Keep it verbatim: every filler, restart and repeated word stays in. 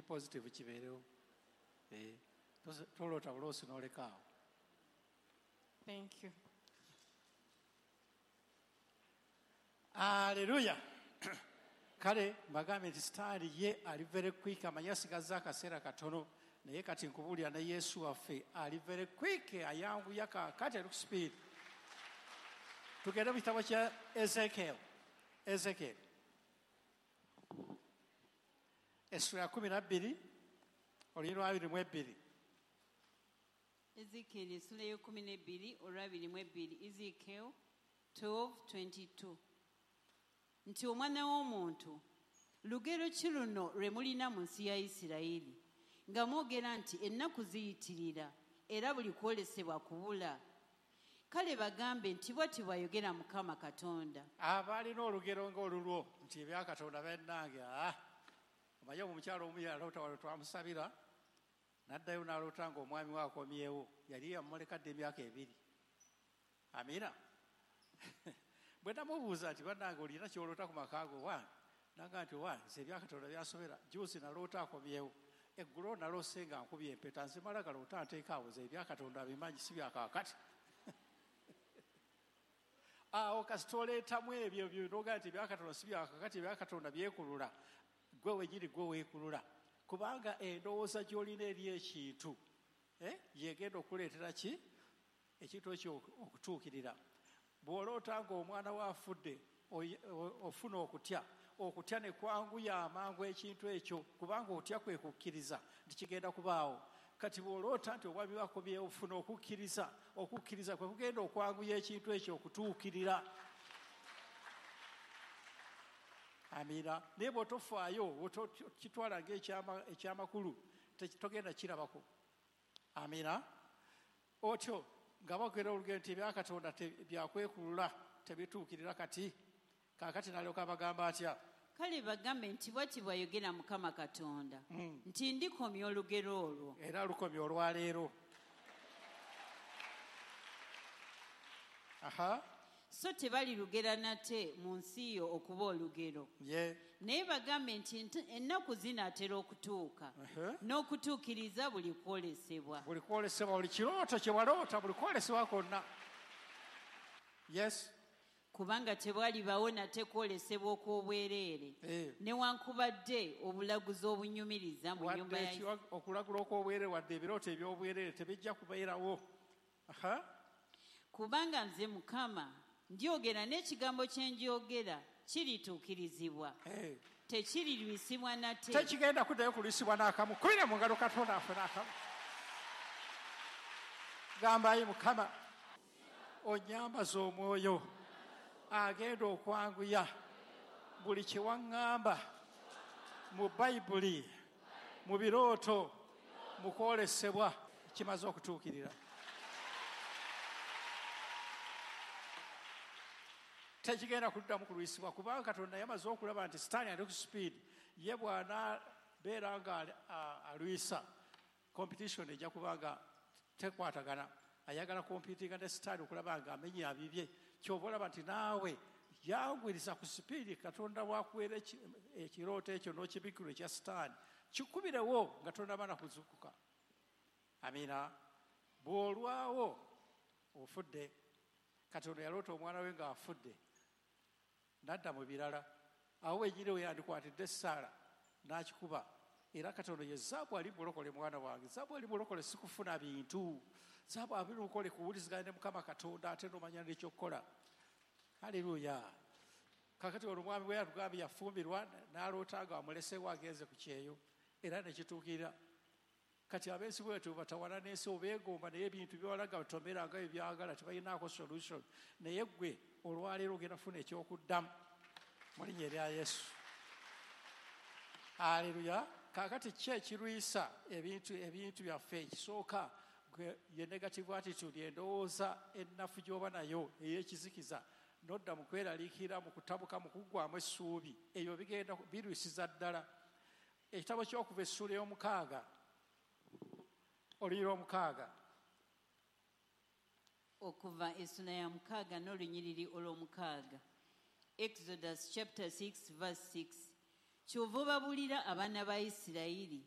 Positive kibeerewo. Eh, toloota buloosi n'olekaawo. Thank you. Aleluya. Kale mbagambye nti sitaani ye ali very quick, amanyi asigazza akaseera katono, naye kati nkubuulira ne Yesu waffe ali very quick, ayanguya kaakati ali ku speed. Tugende mu kitabo kya Ezekiel. Ezekiel essula ya kumi na bbiri olunyiriri lwa abiri mu ebbiri. Ezekiel essula y'ekumi n'ebbiri olw'abiri mu ebbiri. Ezekiel twelve twenty-two. Nti omwana w'omuntu, lugero ki luno lwe mulina mu nsi ya Isirayiri, nga mwogera nti ennaku ziyitirira era buli kwolesebwa kubula? Kale bagambe nti bw'ati bw'ayogera Mukama Katonda. Abalina olugero ng'olulwo nti ebya Katonda bennange, ah, omanyi omukyala omu yaloota wano twamusabira, n'addayo n'aloota ng'omwami we akomyewo, yali yamuleka dda emyaka ebiri. Amiina. Bwe namubuuza nti bannange olina ky'oloota ku maka go wange, nanga nti wange nze ebya Katonda byansobera, jjuuzi naloota akomyewo, eggulo naloose nga nkubye empeta, nze mala galoota nteeka awo, nze ebya Katonda bimanyi si bya kaakati. Awo kasita oleetamu ebyo by'onoga nti ebya Katonda si bya kaakati, ebya Katonda byekulula, gwe wenyini gwe weekulula, kubanga endowooza gy'olina eri ekintu eh, yegenda okuleetera ki ekintu ekyo okutuukirira. Bw'oloota ng'omwana we afudde, ofuna okutya, okutya ne kwanguya amangu ekintu ekyo, kubanga otya kwe kukkiriza nti kigenda kubaawo. Kati bw'oloota nti omwami we akomyewo, ofuna okukkiriza, okukkiriza kwe kugenda okwanguya ekintu ekyo okutuukirira. Amiina. Naye bw'otofaayo, bw'otokitwala ng'ekyamakulu, togenda kirabako. Amiina. Otyo nga boogera olugero nti ebya Katonda byakwekulula tebituukirira kati. Kaakati n'alyoka abagamba atya? Kale bagambe nti bw'ati bw'ayogera Mukama Katonda, nti ndikomya olugero olwo. Era lukomya olwaleero. Aha. So tebalirugera nate mu nsi yo okuba olugero. Naye bagambe nti ennaku zinaatera okutuuka, n'okutuukiriza buli kwolesebwa. Buli kwolesebwa, buli kirooto kye waloota, buli kwolesebwa kwonna. Yes. Kubanga tewalibaawo nate kwolesebwa okw'obwereere, newankubadde obulaguzi obunyumiriza mu nnyumba ya okulagula okw'obwereere, wadde ebirooto eby'obwereere tebijja kubeerawo. Aha. Kubanga nze Mukama ndyogera n'ekigambo kye njogera kirituukirizibwa. Tekirirwisibwa nate. Tekigenda kuddayo kulwisibwa n'akamu. Kubira mu ngalo Katonda affe n'akamu. Gamba ayi Mukama, onnyambaze omwoyo agenda okwanguya buli kye waŋŋamba mu Bayibuli, mu birooto, mu kwolesebwa kimaze okutuukirira. Tekigenda kuddamu kulwisibwa, kubanga Katonda yamaze okulaba nti Sitaani ali ku speed. Ye bw'anaabeera nga alwisa, competition ejja kuba nga tekwatagana. Ayagala kompitinga ne Sitaani okulaba nga amenya bibye. Ky'oba olaba nti naawe yanguyiriza ku sipiidi Katonda bw'akuweera ekirooto ekyo n'okibikkirwa ekya Sitaani, kikubirewo nga tonnaba na kuzuukuka. Amiina. Bw'olwawo ofudde. Katonda yaloota omwana we ng'afudde, n'adda mu birala. Awo wenyini we yandikwatidde essaala n'akikuba. Era Katonda ye zaabu ali mulokole mwana wange, zaabu ali mulokole si kufuna bintu, zaabu ali mulokole kuwuliziganya ne Mukama Katonda ate n'omanya n'ekyokukola. Haleluya. Kakati ono omwami we yatugambye yafumbirwa n'aloota nga amuleseewo agenze ku kyeyo, era ne kituukirira. Kati ab'ensi bwe batawana n'ensi obeegomba, naye ebintu byewalaga batomera nga bye byagala, tebalinaako solution. Naye ggwe olwaleero ogenda kufuna ekyokuddamu mu linnya erya Yesu. Haleluya. Kaakati ki ekirwisa ebintu ebintu byaffe? Ekisooka ye negative attitude, endowooza ennafu gy'oba nayo ey'ekizikiza, nodda mu kweraliikirira, mu kutabuka, mu kuggwamu essuubi. Ebyo bigenda birwisiza ddala. Ekitabo ky'okuva essuula ey'omukaaga, olunyiriri omukaaga. Okuva essula ya mukaaga n'olunyiriri olw'omukaaga. Exodus chapter six verse six. Kyova obabuulira abaana ba Isirayiri